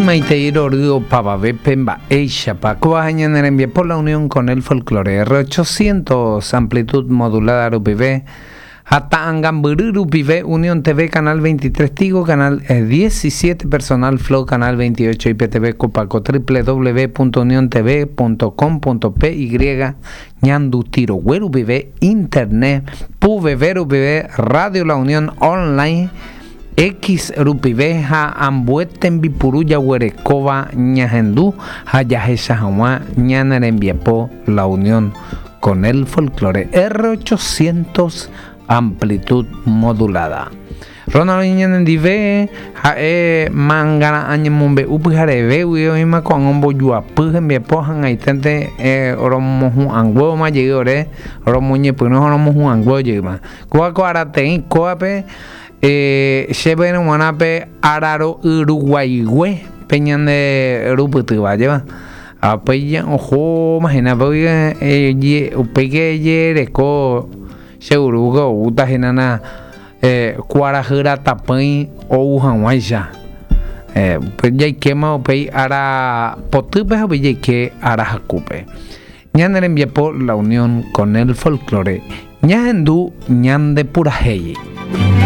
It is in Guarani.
Maitei rory opavavépe mba'éichapa kóva ha ñane rembiapo La Unión con el Folklore R800 amplitud modulada rupive ha ta'angambyry rupive Unión TV Canal 23 Tigo Canal 17 Personal Flow Canal 28 IPTV Copaco www.uniontv.com.py Ñanduti rogue rupive Internet Puveve rupive Radio La Unión Online X rupive ha ambue tembipuru jaguerekóva ñahendu ha jahecha hag̃ua ñane rembiapo La Unión con el Folklore R800 amplitud modulada. Ronald oĩ ñanendive, ha'e mangara'ã ñemombe'u pyharevégui oĩma ko'ág̃a ombojuapy hembiapo hag̃aiténte romohu'ãnguévoma jey ore romoñepyrũ ha romohu'ãnguévo jeýma. Kóva ko arateĩ kóvape chéverõ g̃uarã pe araro'yruguaigue pe ñande rupytýva, ajépa? Ha upéi ohóma hína upéike jereko che urúke oúta hína na kuarahy ratapỹi ou hag̃uáicha. Upéi jaikéma upéi ára potýpe ha upéi jaike ára hakúpe. Ñane rembiapo La Unión con el Folklore ñahendu ñande purahéi.